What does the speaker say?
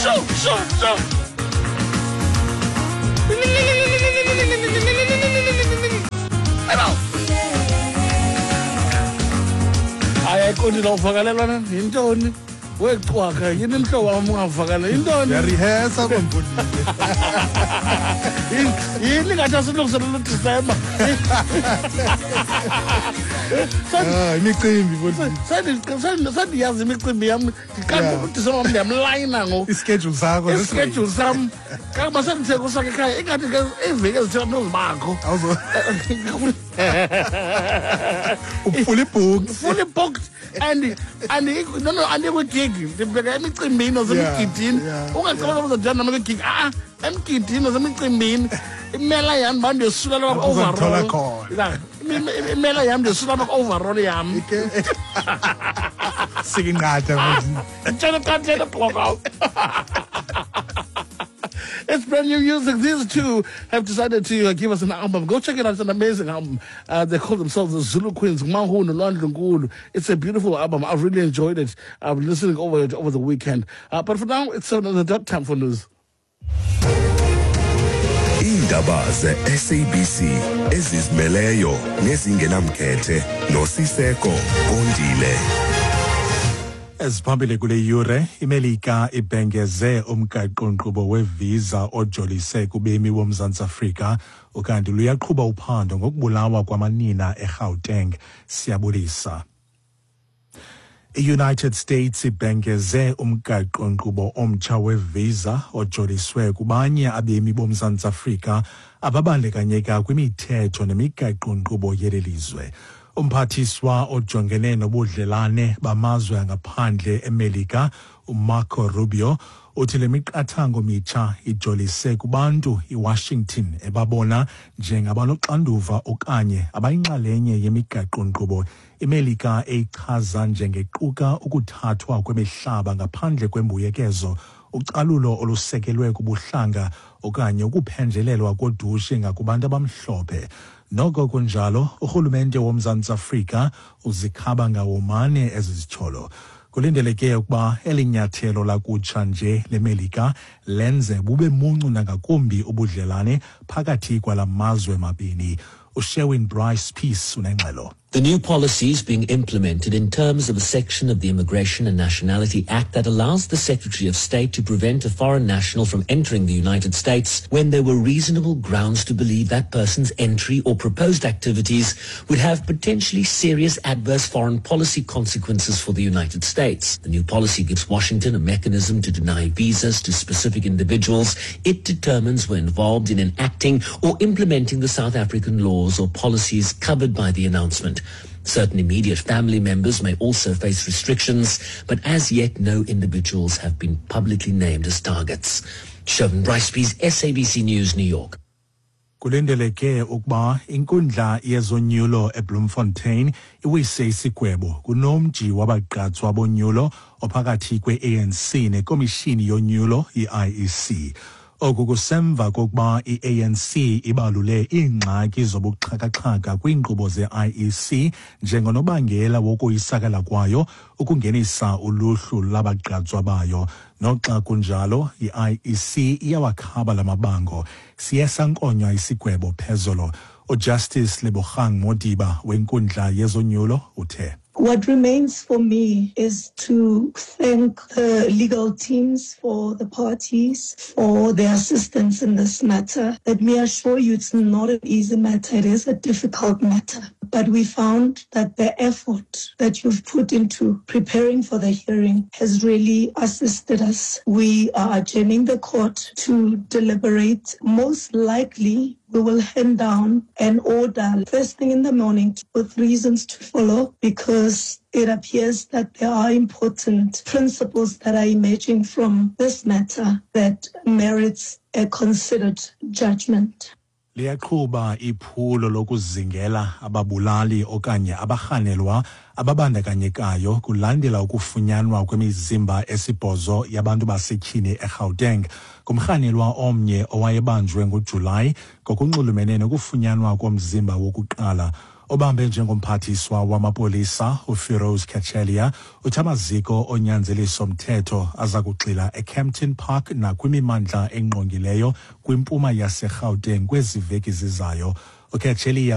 Sho, sho, sho. Hayi, ayiqondi la uvakalelwa na yintoni? Wecwaka yini mhlobo wam ungavakala yintoni? Ndiyarihesa komfundisi. Yini ngathi asilungiselela uDisemba? Ah, imicimbi mfundisi. Sendiyazi imicimbi yam ndiqala uDisemba wam ndiyamlayina ngoku. Ischedule sakho. Ischedule sam kangoba sendithe kusakhe ekhaya ingathi ke iiveki ezithile ndozibakho. Fully booked. Fully booked. And and no no andikwigigi ndibheka emicimbini nasemigidini. Ungacabanga uzodibana nam kwigigi a-a emgidini nasemicimbini imela yam uba ndiyosula lwa Uzondithola overall. khona. Ya, imela yam ndiyosula lwa overall yam. Sikinqatha mfundisi. Tshela qatshela block. It's brand new music. These two have decided to give us an album. Go check it out. It's an amazing album. They call themselves the Zulu Queens. Mahu Nolwandle Nkulu. It's a beautiful album. I've really enjoyed it. I've been listening over it over the weekend. But for now, it's 7 on the dot, time for news. Iindaba ze-SABC ezizimeleyo nezingenamkhethe noSiseko Kondile. Eziphambili kule yure, iMelika ibhengeze umgaqo-nkqubo wevisa ojolise kubemi boMzantsi Afrika, ukanti luyaqhuba uphando ngokubulawa kwamanina eGauteng. Siyabulisa. I-United States ibhengeze umgaqo-nkqubo omtsha wevisa ojoliswe kubanye abemi boMzantsi Afrika ababandakanyeka kwimithetho nemigaqo-nkqubo yeli lizwe. Umphathiswa ojongene nobudlelane bamazwe angaphandle eMelika, uMarco Rubio, uthi le miqathango mitsha ijolise kubantu iWashington ebabona njengabanoxanduva okanye abayinxalenye yemigaqo-nkqubo iMelika eyichaza njengequka ukuthathwa kwemihlaba ngaphandle kwembuyekezo, ucalulo olusekelwe kubuhlanga okanye ukuphenjelelwa kodushe ngakubantu abamhlophe. Noko kunjalo, urhulumente woMzantsi Afrika uzikhaba ngawomane ezi zityholo. Kulindeleke ukuba eli nyathelo lakutsha nje leMelika lenze bube muncu nangakumbi ubudlelane phakathi kwala mazwe mabini. uSherwin Bryce Peace unengxelo. The new policy is being implemented in terms of a section of the Immigration and Nationality Act that allows the Secretary of State to prevent a foreign national from entering the United States when there were reasonable grounds to believe that person's entry or proposed activities would have potentially serious adverse foreign policy consequences for the United States. The new policy gives Washington a mechanism to deny visas to specific individuals it determines were involved in enacting or implementing the South African laws or policies covered by the announcement. Certain immediate family members may also face restrictions, but as yet no individuals have been publicly named as targets. Sherwin Bryce-Pease, SABC News, New York. Kulindeleke ukuba inkundla yezonyulo eBloemfontein iwise isigwebo kunomji wabagqatswa bonyulo ophakathi kwe-ANC nekomishini yonyulo i-IEC. Oku kusemva kokuba i-ANC ibalule iingxaki zobuxhakaxhaka kwiinkqubo ze-IEC njengonobangela wokoyisakala kwayo ukungenisa uluhlu lwabagqatswa bayo. Noxa kunjalo, i-IEC iyawakhaba la mabango. Siye sankonywa isigwebo phezolo. UJustice Lebogang Modiba wenkundla yezonyulo uthe: What remains for me is to thank the legal teams for the parties for their assistance in this matter. Let me assure you it's not an easy matter. It is a difficult matter. But we found that the effort that you've put into preparing for the hearing has really assisted us. We are adjourning the court to deliberate. Most likely, we will hand down an order first thing in the morning with reasons to follow, because it appears that there are important principles that are emerging from this matter that merits a considered judgment. Liyaqhuba iphulo lokuzingela ababulali okanye abarhanelwa ababandakanyekayo kulandela ukufunyanwa kwemizimba esibhozo yabantu basetyhini eGauteng. Kumrhanelwa omnye owayebanjwe ngoJulayi ngokunxulumene nokufunyanwa komzimba wokuqala. Obambe njengomphathiswa wamapolisa uFiroz Cachalia uthi amaziko onyanzeliso mthetho aza kugxila eKempton Park nakwimimandla engqongileyo kwimpuma yaseGauteng kwezi veki zizayo. UCachalia.